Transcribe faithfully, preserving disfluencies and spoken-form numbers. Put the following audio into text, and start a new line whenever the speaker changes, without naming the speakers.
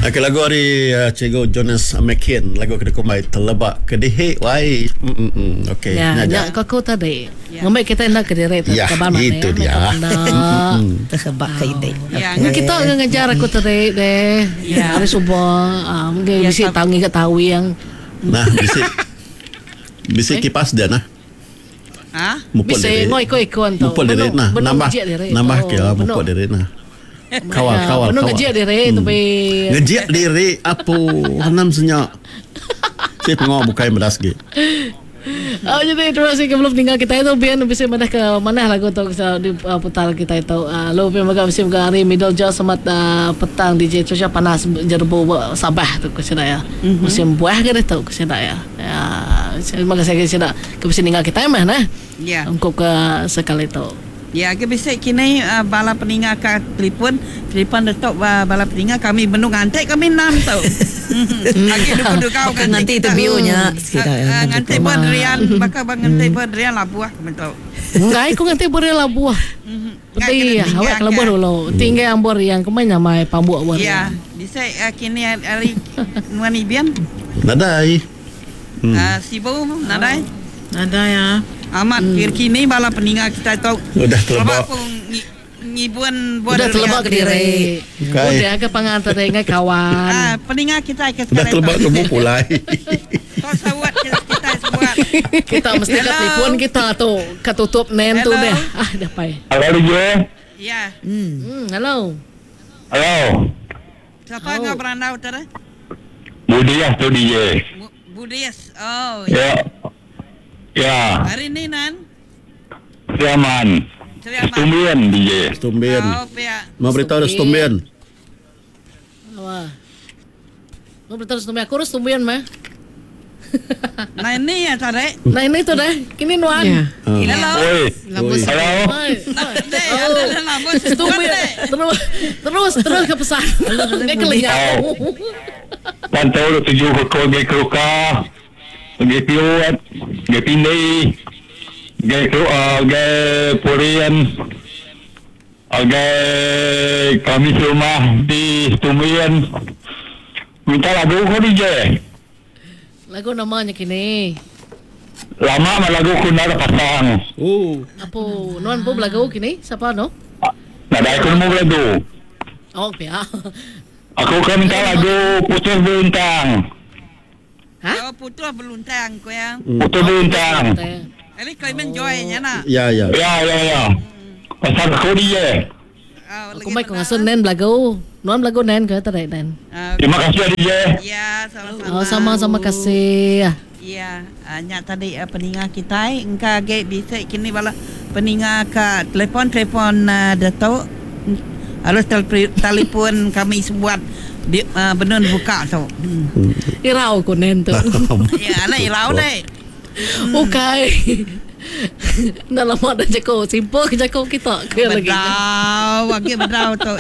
Okey, lagu ari uh, Cikgu Jonas Mekin, lagu ke dikumbai Teleba Kedihi wai. Mm mm mm. Okey,
Ya,
nya aja.
nya ko aku tadi.
Ya.
Ngambi kita enda kediri tu
Ya,
kaban mana
itu
ya.
dia.
Terhebak ke ide.
Ya,
Ngan kita ngan ngajar aku tadi deh.
Ya.
Hari subuh ah, mungkin
Ya,
bisi
sab-
tau ngiga tawing.
Nah, bisi bisi kipas dia nah.
Ha?
Mupuk
Bisi
diri.
ngoi ikon tu.
Mupuk diri nah, nambah nambah ke lah mupuk diri nah. Kawal kawal
Benung
kawal.
ngejek diri tapi
Ngejek diri apo hanam senyak. Si pengok bukai medas gi.
Oh, jadi terima kasih ke belum tinggal kita itu biar bisa madah ke mana lagu tu bisa di uh, putar kita itu. Uh, lalu biar mega bisa mega hari middle jauh semat uh, petang D J cuaca panas jerbu Sabah tu ke sini ya. Mm-hmm. Musim buah ke tu ke sini ya. Ya, terima kasih ke sini ke bisa tinggal kita mah nah.
Ya.
Ungkup ke sekali tu.
Ya, ke bisa kini uh, bala peninga ke telefon, telefon detok uh, bala peninga kami benung ngantik kami enam tu. Lagi duku kau
Baka nganti interviewnya
Sekira nganti buat rian, baka bang nganti buat rian labuah kami tu.
Enggak, aku nganti buat rian labuah. Peti ya, awak kalau buat dulu. Tinggal ambor yang kemana nyamai pambuk buat.
Ya, bisa uh, kini hari nuan ibian.
Nadai.
Hmm. Uh, sibu nadai.
Nadai ya.
Amat hmm. Kini bala peninga kita tu.
Udah telebak.
Ngibuan buat
udah telebak ke diri.
Okay.
Udah ke pangan tadi ngai kawan.
Ah, peninga kita ke
udah telebak ke pulai.
Kau sawat kita, kita sebuat.
Kita mesti ke telefon kita tu ketutup nen tu deh. Ah, dah pai.
Halo D J.
Ya.
Hmm. Hmm, halo.
Halo.
Siapa ngau berandau tadi?
Budias tu D J.
Budias. Oh.
Ya. Ya.
Hari ni nan.
Siaman. Setumbien D J.
Setumbien.
Oh, pia.
Mau beritahu ada setumbien.
Wah. Mau beritahu setumbien. Aku harus setumbien mah.
Nah ini ya tadi.
Nah ini tu dah. Kini nuan.
Ya.
Hello.
Oi. Halo.
Setumbien. Terus terus terus ke pesan. Ini kelingan.
Pantau tujuh ke kau ke keruka. Ge piuat, ge pindai, ge keruka, ge purian, ge kami serumah di Setumbien. Minta lagu ko D J.
Lagu namanya kini.
Lama mah lagu ku nak pasang.
Oh.
Apa nuan pun lagu kini? Siapa no?
Nada aku mau lagu.
Oh, pia.
Aku kan minta lagu Putus Beruntang.
Hah?
Oh, putus beluntang ko yang.
Putus beluntang.
Ini Clement Joy nya nak.
Ya ya.
Ya ya ya. Pasal aku dia.
Aku mai kau ngasun nen lagu. Nuan lagu nen ke tadi nen.
Terima kasih D J.
Ya, sama-sama.
Oh, sama-sama kasih.
Ya, nya tadi uh, peninga kita engka ge bisa kini bala peninga ke telefon-telefon uh, Datuk harus telefon kami sebuat di uh, benun buka tu. Hmm.
Irau ku nen tu.
Ya, anak irau deh.
Okey. Dah lama dah cakap simple ke cakap kita ke lagi.
Berau, bagi berau tu.